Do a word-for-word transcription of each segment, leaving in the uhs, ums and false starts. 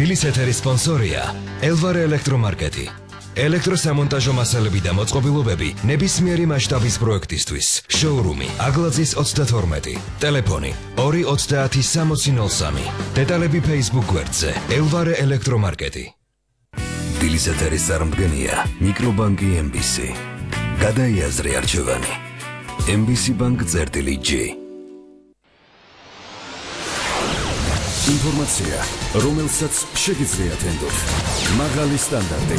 დილის ეთერის სპონსორია ელვარე ელექტრომარკეტი. ელექტროსამონტაჟო მასალები და მოწყობილობები ნებისმიერი მასშტაბის პროექტისთვის. შოურუმი აგლაძის ოცდათორმეტი. ტელეფონი ორი ოცდაათი სამოცი ნოლ სამი. დეტალები Facebook გვერდზე ელვარე ელექტრომარკეტი. დილის ეთერის წარმდგენია მიკრობანკი ემ ბი სი. გადაიაზრე არჩევანი. ემ ბი სი ბანკ წერტილი ჯი. ინფორმაცია, რომელსაც შეგიძლიათ ენდოთ. მაღალი სტანდარტი,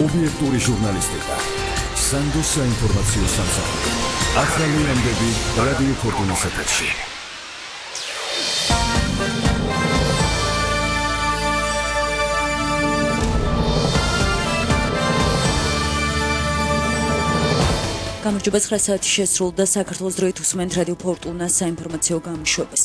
ობიექტური ჟურნალისტიკა. სანდოს საინფორმაციო სამსახური. ახალი ამბები რადიო ფორტუნის ეთერში. გამარჯობა, ცხრა საათი შესრულდა. საქართველოს დროით უსმენთ რადიო ფორტუნას საინფორმაციო გამოშვებას.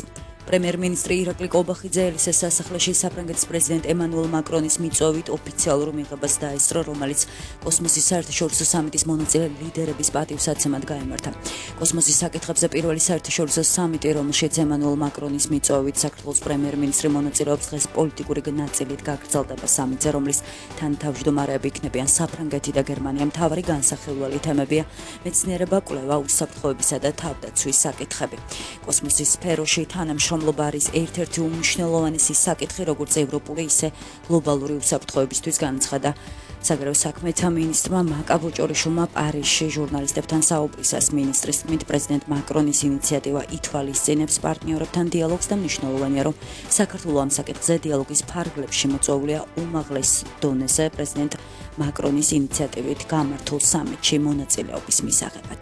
პრემიერ-მინისტრი ირაკლი კობახიძე ელისეს სასახლეში საფრანგეთის პრეზიდენტ ემანუელ მაკრონის მიწვევით ოფიციალურ მიღებას დაესწრო, რომელიც კოსმოსის საერთაშორისო სამიტის მონაწილე ლიდერების პატივსაცემად გაიმართა. კოსმოსის საკითხებზე პირველი საერთაშორისო სამიტი, რომელშიც ემანუელ მაკრონის მიწვევით საქართველოს პრემიერ-მინისტრი მონაწილეობს, დღეს პოლიტიკური ნაწილით გაგრძელდება სამიტზე, რომლის თანათავმჯდომარეები იქნებიან საფრანგეთი და გერმანია. მთავარი განსახილველი თემებია მეცნიერება, კვლევა, უსაფრთხოებისა და თავდაცვის საკითხები. კოსმოსის სფეროში თანამშრომლობა არის ერთ-ერთი უმნიშვნელოვანესი საკითხი, როგორც ევროპული, ისე გლობალური უსაფრთხოებისთვის, განაცხადა საგარეო საქმეთა მინისტრმა მაკაბოჭორიშვილმა პარიზში ჟურნალისტებთან საუბრისას. მინისტრის თქმით, პრეზიდენტ მაკრონის ინიციატივა ითვალისწინებს პარტნიორებთან დიალოგს და მნიშვნელოვანია, რომ საქართველო ამ საკითხზე დიალოგის ფარგლებში მოწვეულია უმაღლეს დონეზე პრეზიდენტ მაკრონის ინიციატივით გამართულ სამიტში მონაწილეობის მისაღებად.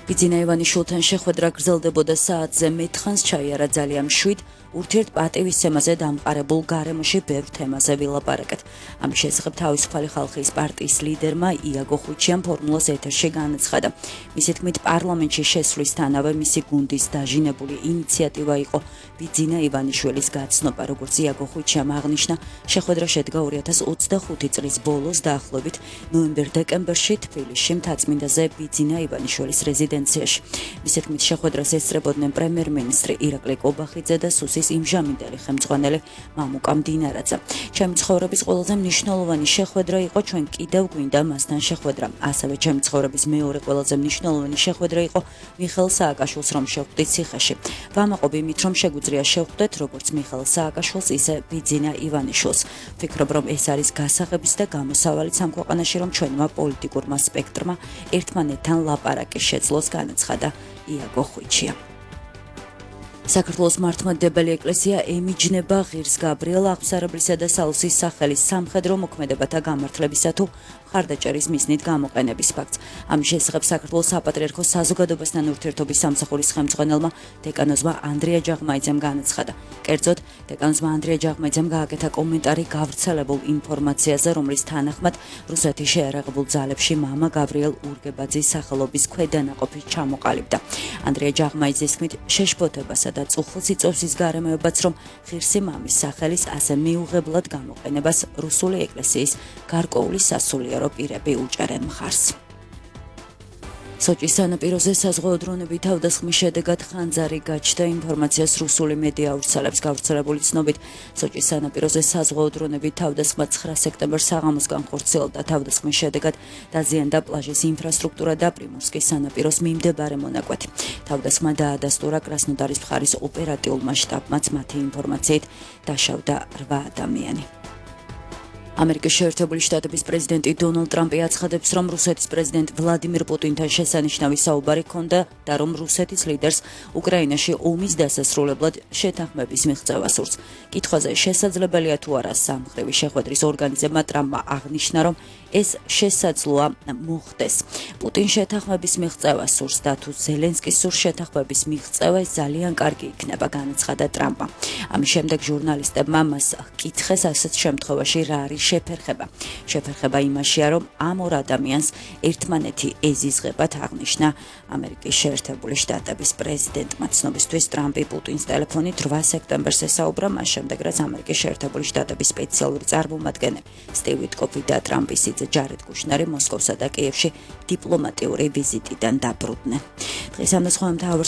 ბიძინა ივანიშვილთან შეხვედრა გრძელდებოდა საათზე მეთხანს ჩაიარა ძალიან მშვიდ ურთიერთპატივისცემაზე დამყარებულ გარემოში ბევრ თემაზე ვილაპარაკეთ. ამის შესახებ თავისუფალი ხალხის პარტიის ლიდერმა იაგო ხვიჩიამ ფორმულას ეთერში განაცხადა. მისი თქმით, პარლამენტში შესვლისთანავე მისი გუნდის დაჟინებული ინიციატივა იყო ბიძინა ივანიშვილის გაცნობა. როგორც იაგო ხვიჩიამ აღნიშნა, შეხვედრა შედგა ორი ათას ოცდახუთი წლის ბოლოს დაახლოებით ნოემბერ-დეკემბერში თბილისში მთაწმინდაზე ბიძინა ივანიშვილის რეზიდენციაში. მისი თქმით, შეხვედრას ესწრებოდნენ პრემიერ-მინისტრი ირაკლი კობახიძე და სუსის იმჟამინდელი ხელმძღვანელი მამუკა მდინარაძე. ჩემი ცხოვრების ყველაზე მნიშვნელოვანი შეხვედრა იყო, ჩვენ კიდევ გვინდა მასთან შეხვედრა. ასევე ჩემი ცხოვრების მეორე ყველაზე მნიშვნელოვანი შეხვედრა იყო მიხეილ სააკაშვილს რომ შევხვდით ციხეში. ვამაყობ იმით, რომ შეგვიძლია შევხვდეთ როგორც მიხეილ სააკაშვილს, ისე ბიძინა ივანიშვილს. ვფიქრობ, რომ ეს არის გასაღების და გამოსავალიც ამ ქვეყანაში, რომ ჩვენმა პოლიტიკურმა სპექტრმა ერთმანეთთან ლაპარაკი შეძლოს, განაცხადა იაგო ხვიჩია. საქართველოს მართლმადიდებელი ეკლესია ემიჯნება ღირს გაბრიელ აღსარებლისა და სალოსის სახელის სამხედრო მოქმედებათა გამართლებისა თუ მხარდაჭერის მიზნით გამოყენების ფაქტს. ამის შესახებ საქართველოს საპატრიარქოს საზოგადოებასთან ურთიერთობის სამსახურის ხელმძღვანელმა დეკანოზმა ანდრია ჯაღმაიძემ განაცხადა. კერძოდ, დეკანოზმა ანდრია ჯაღმაიძემ გააკეთა კომენტარი გავრცელებულ ინფორმაციაზე, რომლის თანახმად რუსეთის შეიარაღებულ ძალებში მამა გავრიელ ურგებაძის სახელობის ქვედანაყოფი ჩამოყალიბდა. ანდრია ჯაღმაიძის თქმით, შეშფოთებასა და წუხილს იწვევს ის გარემოებაც, რომ ღირსი მამის სახელის ასე მიუღებლად გამოყენებას რუსული ეკლესიის გარკვეული სასულიერო პირები უჭერენ მხარს. სოჭის სანაპიროზე საზღვაო დრონები თავდასხმის შედეგად ხანძარი გაჩნდა. ინფორმაციას რუსული მედია ავრცელებს. გავრცელებული ცნობით, სოჭის სანაპიროზე საზღვაო დრონები თავდასხმა ცხრა სექტემბერს საღამოს განხორციელდა. თავდასხმის შედეგად დაზიანდა პლაჟის ინფრასტრუქტურა და პრიმორსკის სანაპიროს მიმდებარე მონაკვეთი. თავდასხმა დაადასტურა კრასნოდარის მხარის ოპერატიულმა შტაბმაც. მათი ინფორმაციით დაშავდა რვა ადამიანი. ამერიკის შეერთებული შტატების პრეზიდენტი დონალდ ტრამპი აცხადებს, რომ რუსეთის პრეზიდენტ ვლადიმირ პუტინთან შესანიშნავი საუბარი ჰქონდა და რომ რუსეთის ლიდერს უკრაინაში ომის დასასრულებლად შეთანხმების მიღწევა სურს. კითხვაზე შესაძლებელია თუ არა სამხრივი შეხვედრის ორგანიზება, ტრამპმა აღნიშნა, რომ ეს შესაძლოა მოხდეს. პუტინ შეთანხმების მიღწევა სურს და თუ ზელენსკის სურს შეთანხმების მიღწევა, ეს ძალიან კარგი იქნება, განაცხადა ტრამპმა. ამის შემდეგ ჟურნალისტებმა მას ჰკითხეს, ასეთ შემთხვევაში რა არის შეფერხება. შეფერხება იმაშია, რომ ამ ორ ადამიანს ერთმანეთი ეზიზღებათ, აღნიშნა ამერიკის შეერთებული შტატების პრეზიდენტმა. ცნობისთვის, ტრამპი პუტინს ტელეფონით რვა სექტემბერს ესაუბრა, მას შემდეგ რაც ამერიკის შეერთებული შტატების სპეციალური წარმომადგენელი სტივ ვიტკოფი და ტრამპის სიძე ჯარედ კუშნერი მოსკოვსა და კიევში დიპლომატიური ვიზიტიდან დაბრუნდნენ. დღეს ამ და სხვა მთავარ